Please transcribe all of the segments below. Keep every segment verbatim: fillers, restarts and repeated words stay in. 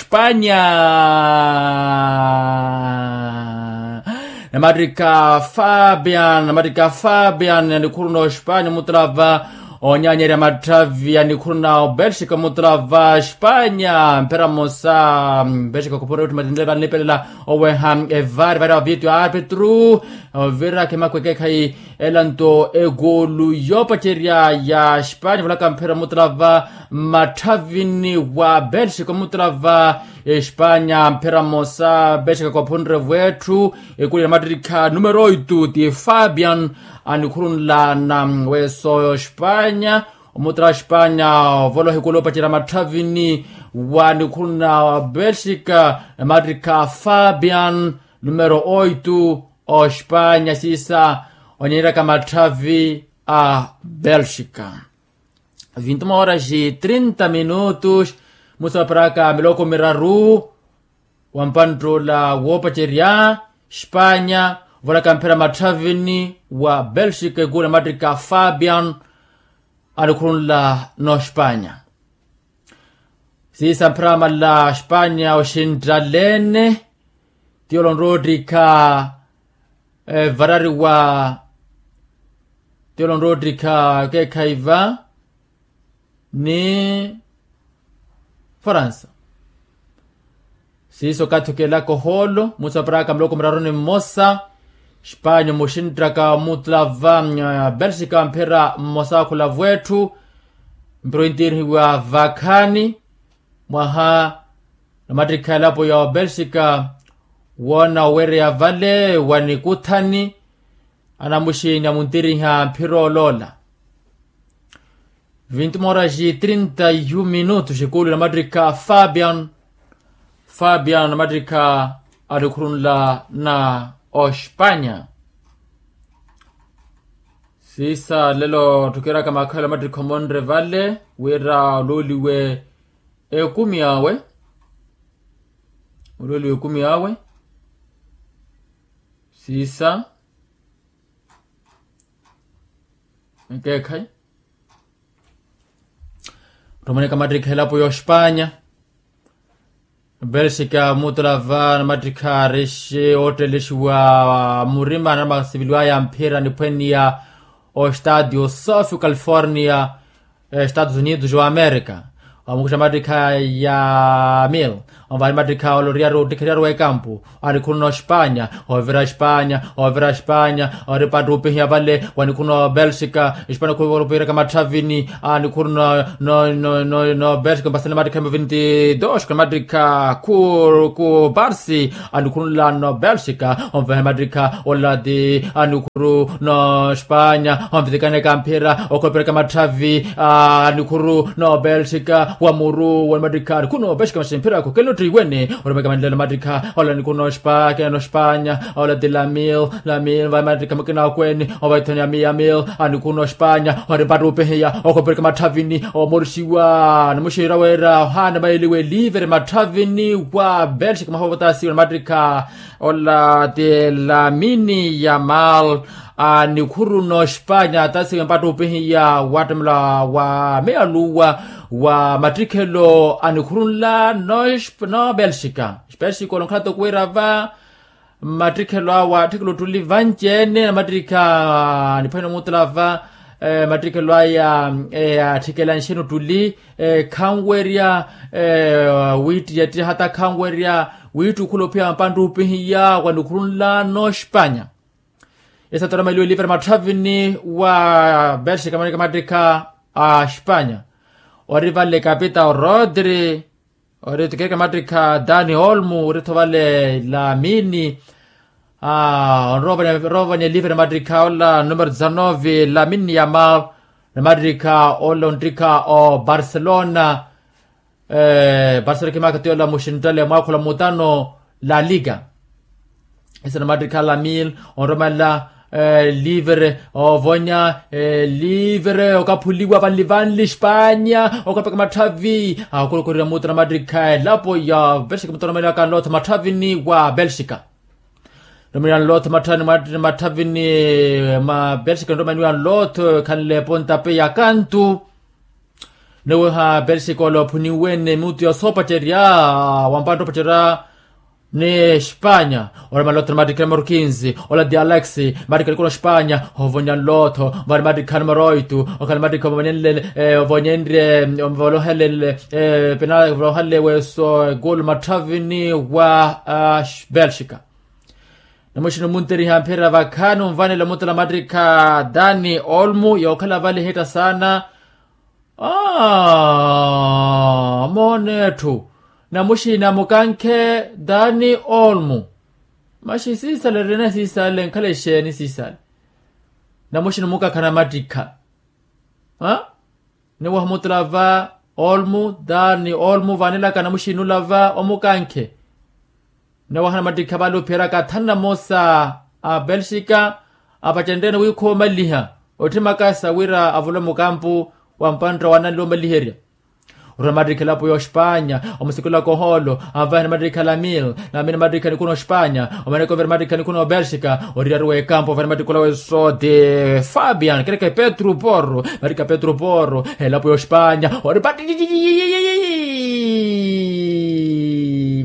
Ospanya. Namattikha fabian namattikha fabian anikhuruna ospanya omutala va onyanyerya matthavi anikhuruna obelxika omutala va ospanya mphera mmosa. Belxika khupura yotthi matinle vanipelela oweha evari vari ovitio arpetru ovira khemakhwekekhayi elanto ekulu yoopacerya ya ospanya volaka mphera omutala va mmatthavini wa belxika omutala va espanya mphera mmosa belxika kophunre vwetthu. Ekulu ya namattikha numero oitu ti fabian anikhurunlana weso espanya omutala espanya ovoloha ekulu opacerya matthavini wa nikhuruna belxika namattikha fabian numero oitu ospanya siisa onyenyeraka matthavi a belxika. Vintu mooras trinta minutos musa waparaka miloko miraru wa mpantt'ula woopacerya spanya ovalaka mphera matthavini wa belxika ekulu namattikha fabian anikhurunla n'ospanya. Siisa mphera mala spanya oxinttalene ti olonroottikha varariwa ti olonroottikha keekhayi va ni faransa. Siiso okathi okeelaka ohoolo musa waparaka muloko miraru ni mmosa. Spanya omuxinttaka omutula va belxika mphira mmosa akhulavu etthu mpira ointirihiwa vakhaani mwaha namattikha elapo ya obelxika woona owereya vale wa nikuthani anamuxini amuntiriha mphira oloola. Vintu mooras trinta yu minutos ekulu namattikha fabian fabian namattikha alikhurunla na ospanya. Siisa lelo ttukiiraka makhelo namattikha omonre vale wira oluuliwe ekumi awe oluuliwe ekumi awe. Siisa ekeekhayi ottomoneka mattikha elapo y'ospanya belxika mutula va namattikha arexe oottellexiwa murima anamasiviliwaya mphira niphweniya ostadio sofi california estados unidos wa america. Omukuxa mattikha ya mil onvaani mattikha oloriyari ottikheriyari w'ekampu anikhuruna ospanya ovira ospanya ovira ospanya ori pattupihiya vale wanikhuruna obelxika. Espanya khuvoropiraka matthavini anikhuruna no no no no belxika mpasani mattikha emu vinti dos kuna mattikha khu ku barsi anikhurunlano belxika onvahe mattikha olati anikhuru no espanya onvitikaneka mphira okholopereka matthavi anikhuru no belxika wa muru wa mattikha anikhuru no belxika maxi mphira khukele ottiwene oromeka manlelo mattikha ola anikhuru no espanya no espanya ola ti lamil lamil va mattikha mukina okweni ovaithoni amiyamil anikhuru no espanya ori mpattupihiya okholopereka matthavini omoruxiwa namuxira wira ohaana maili welivere matthavini wa belxika mahovotasiwa na mattikha ola ti lamini ya mal anikhuru no espanya tasiwe mpattupihiya wattamela wa meyaluwa wa mattikhelo anikhurunla no belxika belxika olonkhala tokuwira va mattikhelo awa attikhelo ottuli vanci-ene na mattikha niphwene omutula va mattikhelo aya atthikela nxeni ottuli khanwerya wittiyattiyahata khanwerya wittukhula ophiya mpanttupihiya wanikhurunla no espanya. Esatoromailiwe livere matthavini wa belxika maneke mattikha a espanya ori vale kapita orodri ori tukereke mattikha dani olmu ori tho vale lamini onroovanya livere mattikha ola numero dezanove lamini ya mal na mattikha ola onttikha o barcelona. Barcelona kimaka ti ola muxinttale mwaakhula mutano la liga. Esa na mattikha lamil onromelela livre ovonya livre okaphuliwa vanli vanli espanya okapeka matthavi akhukulukhulira muta na mattikha elapo ya belxika muta oromelela kanlotho matthavini wa belxika. Romelela nlotho matthavini ma belxika nromaniwa nlotho ekhanle pontape ya kantu. Niweha belxika ole ophuniwene mutu ya soopacerya, wampantta opacerya ni espanya. Ole maloto ni matikha ni morkinzi, ole dialex, matikha nikuna espanya. Ovonya nloto vale matikha ni moroitu, okhala matikha ovonyenlele, ovonyenrye, ovolohelele, pena ovolohelele weso ekulu matthavini wa belxika. Namuxini omunteriha mphira vakhani onvanela omutela matikha dani olmu yookhala vale hitta saana. Aa moona etthu. Namuxini amukankhe dani olmu. Maxi siisale erina siisale nkhala exeeni siisale. Namuxini omukankha namattikha. Niwaha omutela va olmu dani olmu vanelaka namuxini ola va omukankhe. Nnawaha namattikha vale ophiyeraka athanu na moosa a belxika. Apacenryeene wi khoomaliha otthimaka sa wira avule mukampu wa mpantta wananle omaliherya. Orwa namattikha elapo ya ospanya omusikulaka ohoolo. Anvahe namattikha lamil, lamil namattikha nikuna ospanya. Omaneke ovira namattikha nikuna obelxika. Oriyari w'ekampu anvahe namattikha ola w'esooti fabian kereke petru porro. Mattikha petru porro elapo ya ospanya ori pati.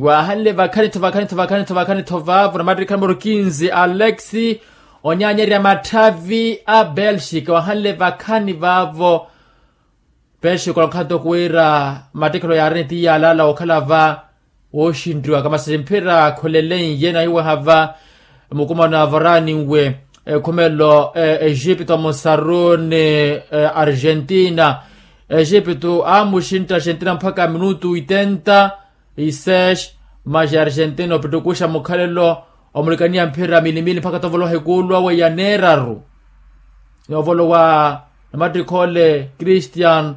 Wahanle vakhani-tho vakhani-tho vakhani-tho vakhani-tho vaavo namattikha numero kinzi alex. Onyaanyerya matthavi a belxika wahanle vakhani vaavo. Belxika olokhato kuwira mattikhelo yaarene ti yaalala okhala va wooxinriwaka masi mphira khuleleiye nahiwaha va. Mukumano avarani nwe ekhumelo egipto musaruni argentina. Egipto amuxintta argentina mpakha minutu oitenta e seis. Maxi argentina opittukuxa mukhalelo omulikaniya mphira milimili mpakha tovoloha ekulu awe ya neeraru. Novolowa namattikha ole christian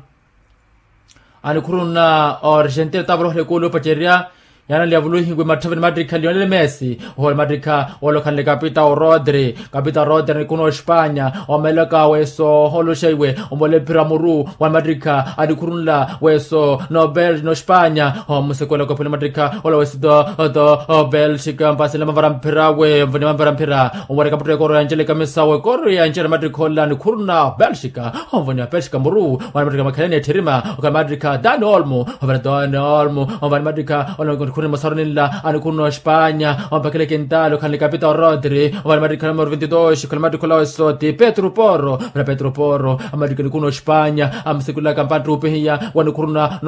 anikhuruna argentina tavoloha ekulu opacerya. Yaanali yavuluhiwe matthavi ni mattikha lionel messi. Ohole mattikha ole okhanle kapita orodri kapita orodri anikuna ospanya. Omelaka weso oholoxa iwe omole mphira muru wa mattikha anikhurunla weso nobel nospanya. Omusekwelaka ophwele mattikha ola weso to belxika mpasile mavara mphira we mvoni mavara mphira. Omwareka mutto ekoro ya ncele kamisa wekoro ya ncele mattikha ola anikhuruna belxika. Onvoniwa belxika muru wana mattikha makhaleni ettherima okhala mattikha dani olmu. Ovana dani olmu ovani mattikha ola anikhuruna mosaroni nla anikhuruna ospanya. Ompakele kintali okhanle kapita orodri ovani mattikha numero vintitoxi okhala mattikha ola wesoti petru porro. Ovana petru porro amattikha anikhuruna ospanya amusekulaka mpantta upihiya wanikhuruna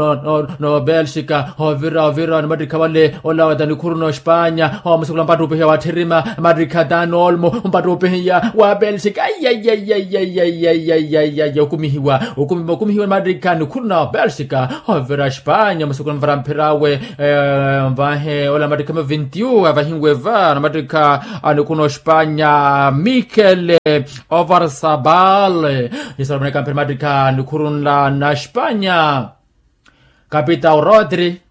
no belxika. Ovira ovira ni mattikha vale ola weta nikhuruna ospanya. Omusekula mpantta upihiya watthirima mattikha dani olmu mpantta upihiya wa belxika. Okumihiwa okumihiwa okumihiwa ni mattikha nikhuruna belxika. Ovira espanya omusekula mvara mphira awe. Vahe ola mattikha ma vintiu avahiwe va na mattikha anikhuruna ospanya mikel ovarsabal. Nisala vaneka mphira mattikha nikhurunla na espanya. Kapita orodri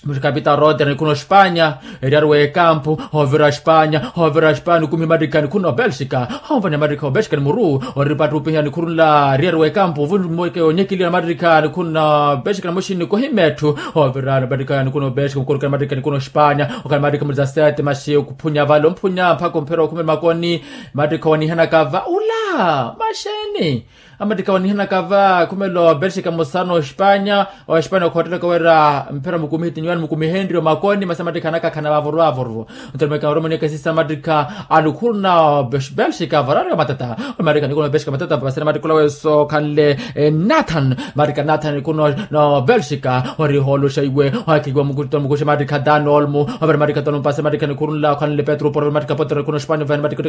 muxi kapita orodri anikhuruna ospanya. Eriyari w'ekampu ovira ospanya ovira ospanya nikumihi mattikha anikhuruna obelxika. Onvoniha mattikha obelxika ni muru ori mpattupihiya anikhurunla eriyari w'ekampu ovunmweke onyekiliwa na mattikha anikhuruna obelxika na muxini nikohima etthu. Ovira mattikha anikhuruna obelxika mukorokera mattikha anikhuruna ospanya okhala mattikha mulisasete maxi okuphunya vale omphunya mpakha omphera okhumela makoni. Mattikha wanihanaka va ula maxeeni. Amattikha wanihanaka va khumelo belxika musana ospanya. Ospanya okhottelaka wira mphira mukumihi tinyiwani mukumihenrye omakoni masi amattikha anakakhana vavuru vavuru. Nto nimweka oromoni ekesisa amattikha anikhuruna belxika varari wa matata. Amattikha anikhuruna belxika matata vasene amattikha ula weso khanle nathan mattikha nathan anikhuruna belxika. Ori holoxa iwe ohakikiwa mukuxi mattikha dani olmu. Overe mattikha dani olmu pase mattikha anikhurunla khanle petru porro mattikha potro anikhuruna ospanya vene mattikha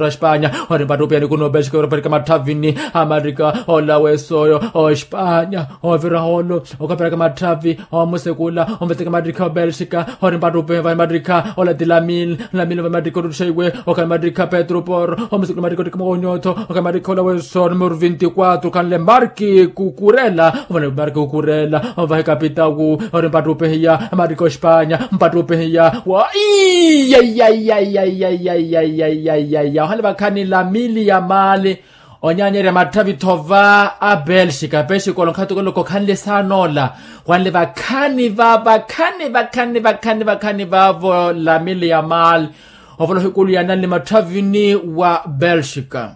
ospanya. Ori mpattupiha anikhuruna obelxika ori mpattika matthavini. Amattikha ola weso ospanya ovira holo okaperaka matthavi omusekula omveteke mattikha obelxika. Ori mpattupiha vane mattikha ola ti lamil lamil vane mattikha ottuxa iwe okhala mattikha petru porro omusekula mattikha ottikha mawonyotho okhala mattikha ola weso numero vinti quatro khanle marki kukurela. Ovane marki kukurela ovahe kapitawu. Ori mpattupihiya mattikha ospanya mpattupihiya wa iyaiyaiyaiyaiyaiyaiyaiyaiyaiya ohale vakhani lamili ya mali. Onyaanyerya matthavi-tho va a belxika belxika olo nkhatukelo kokhanle saana ola. Wanle vakhani va vakhani vakhani vakhani vakhani vaavo lamili ya mali. Ovoloha ekulu yaananle matthavini wa belxika.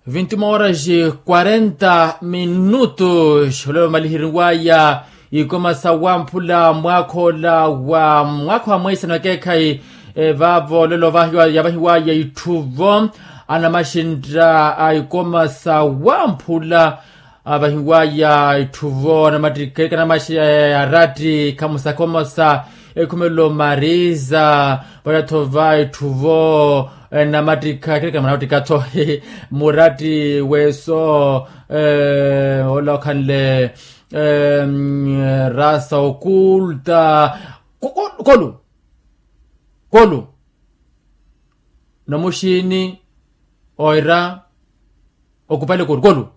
Vinti uma horas quarenta minutos olelo vamalihiriwaya ikoma sa wamphula mwaakha ola wa mwaakha wa mweisano ekeekhayi. Vaavo olelo yavahiwaya itthuvo anamaxintta a ikoma sa wamphula avahiwaya itthuvo anamattikha ekanamaxi aratti khamusa khomosa ekhumelo mariza. Vale-tho va itthuvo namattikha ekeekhayi manamattikha-tho muratti weso ola okhanle rasa okulta kolu kolu nomuxiini oira okupale kolu kolu